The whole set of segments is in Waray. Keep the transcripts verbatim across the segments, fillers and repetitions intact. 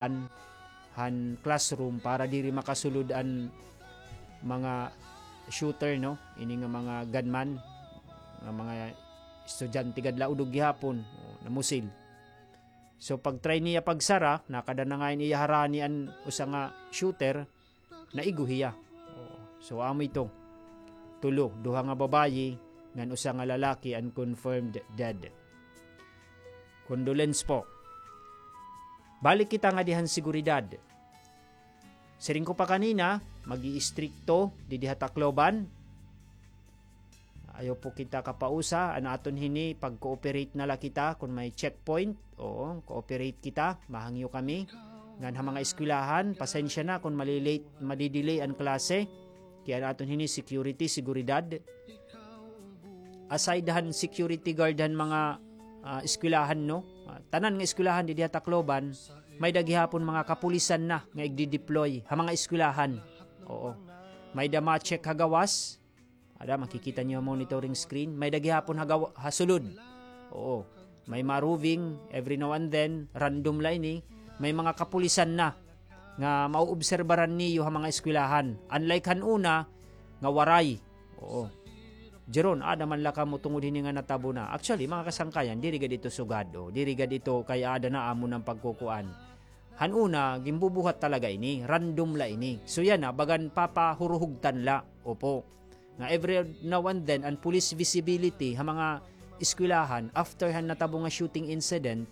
han classroom para diri makasulod an mga shooter, no? Ini nga mga gunman, nga mga estudyante gad la udog gihapon, o, namusil. So, pag-try niya pagsara, nakada na ngay-an iya harani an usa nga shooter, naigo hiya. O, so, amo ito. Tulo, duha nga babayi, ngan usa nga lalaki, an confirmed dead. Condolence po. Balik kita ngadi han seguridad. Siring ko pa kanina, mag-iistrikto didi ha Tacloban. Ayaw po kita kapausa, an aton hini, pag-cooperate na la kita, kon may checkpoint, oo, cooperate kita, mahangyo kami. Ngan ha mga eskwelahan, pasensya na kon mali-late, madi-delay an klase. Kay an aton hini, security, seguridad. Aside han security guard han mga, ah, eskwelahan, no? Ah, tanan nga eskwelahan didi ha Tacloban, may-ada gihapon mga kapulisan na nga igdi-deploy ha mga eskwelahan. Oo. May-ada ma-check ha gawas. Ada, makikita niyo ha monitoring screen. May-ada gihapon ha gaw-, ha sulod. Oo. May ma-roving every now and then, random la ini. May mga kapulisan na nga mauobserbaran niyo ha mga eskwelahan. Unlike han una, nga waray. Oo. Jeron, ada man la kamo tungod hini nga natabo na. Actually, mga kasangkayan, diri gad ito sugad, o. Diri gad ito kay ada na amo nang pagkukuan. Han una, ginbubuhat talaga ini, random la ini. So yana, bagan papahuruhugtan la, opo. Nga every now and then, an police visibility ha mga eskwelahan, after han natabo nga shooting incident,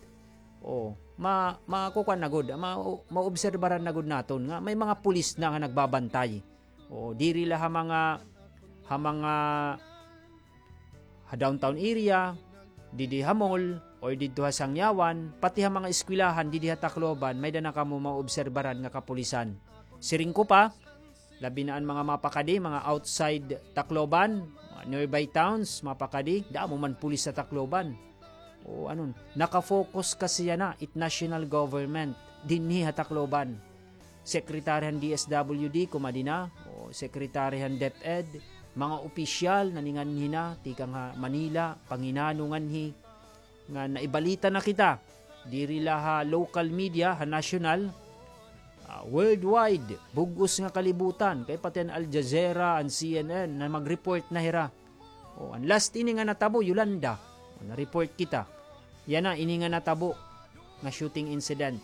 o, ma-, makukuan na gud, ma-, maobserbaran na gud naton nga may mga pulis na nga nagbabantay. O, diri la ha mga, ha mga, ha downtown area, didi ha mall, or didto ha Sangyawan, pati ha mga eskwelahan didi ha Tacloban, may-ada na kamo maobserbaran nga kapulisan. Siring ko pa, labi na an mga mapakadi, mga outside Tacloban, mga nearby towns, mapakadi, damo man pulis sa Tacloban. O, anon, naka-focus kasi yana it national government dinhi ha Tacloban. Secretary han D S W D, kumadi na, o, secretary han DepEd, mga opisyal naninganhi na, tikang ha Manila, panginano nganhi, nga naibalita na kita, diri la ha local media, ha national, ah, worldwide, bug-os nga kalibutan, kay pati an Al Jazeera, an C N N, na mag-report na hira. O, an last ini nga natabo, Yolanda. O, na-report kita. Yana, ini nga natabo nga shooting incident.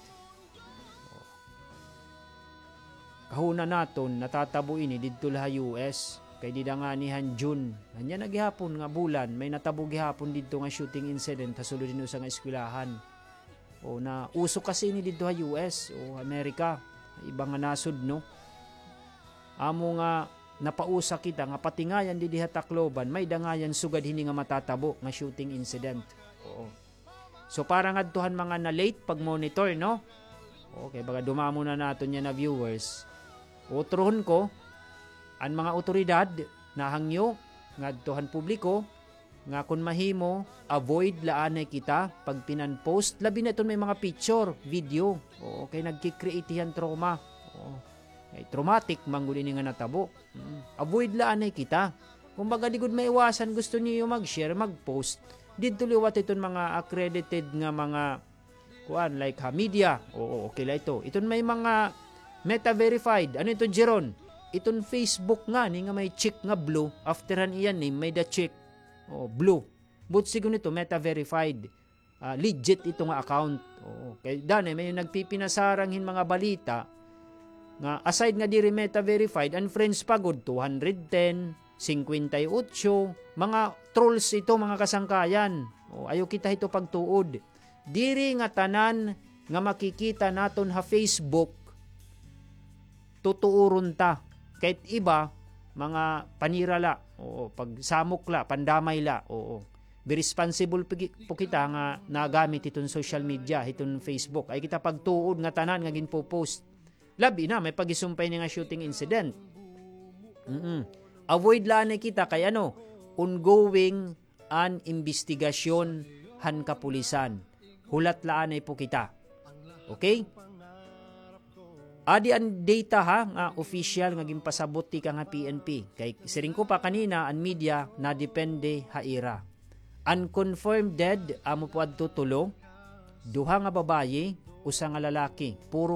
Kahuna naton, natatabo ini didto la ha U S. Kay dida ngani han June. Ania na gihapon nga bulan, may natabo gihapon didto nga shooting incident ha sulod hin usa nga eskwelahan. O, na uso kasi ini didto ha U S o Amerika, iba nga nasod, no? Amo nga napausa kita nga pati ngayan didi ha Tacloban, may-ada ngayan sugad hini nga matatabo nga shooting incident. Oo. So, para ngadto han mga na-late pag-monitor, no? Okay, baga dumamo na naton yana viewers. Utrohon ko, an mga awtoridad, nahangyo ngadto han publiko, nga kon mahimo, avoid la anay kita pagpinan-post, labi na iton may mga picture, video. Oo, kay nagki-create hiyan trauma. Oo. Kay traumatic man gud ini nga natabo. Mm. Avoid la anay kita. Kumbaga, di gud maiwasan, gusto niyo mag-share, mag-post. Didto liwat iton mga accredited nga mga kuan, like ha media. Oo, okay la ito. Iton may mga Meta verified. Ano ito, Jeron? Iton Facebook ngani nga may check nga blue. After han iya name, may-ada check. Oo, blue. But sigon ito, Meta verified. Ah, legit ito nga account. Oo. Kay danay, may nagpipinasarang hin mga balita nga aside nga diri Meta verified, an friends pa gud, two hundred ten, singkwenta y otso, mga trolls ito, mga kasangkayan. O, ayaw kita hito pagtuod. Diri nga tanan nga makikita naton ha Facebook, tutuoron ta. Kahit iba, mga panira la, oo, pagsamok la, pandamay la, oo. Be responsible po ki-, po kita nga nagamit hiton social media, hiton Facebook. Ay kita pagtuod nga tanan nga ginpo-post. Labi na, may pagisumpay ni nga shooting incident. Mm-mm. Avoid la anay kita kay ano, ongoing an imbestigasyon han kapulisan. Hulat la anay po kita. Okay? Adi an data ha, nga official nga ginpasabot tikang ha P N P. Kay siring ko pa kanina, an media nadepende ha ira. An confirmed dead, amo po adto tulo. Duha nga babayi, usa nga lalaki, puro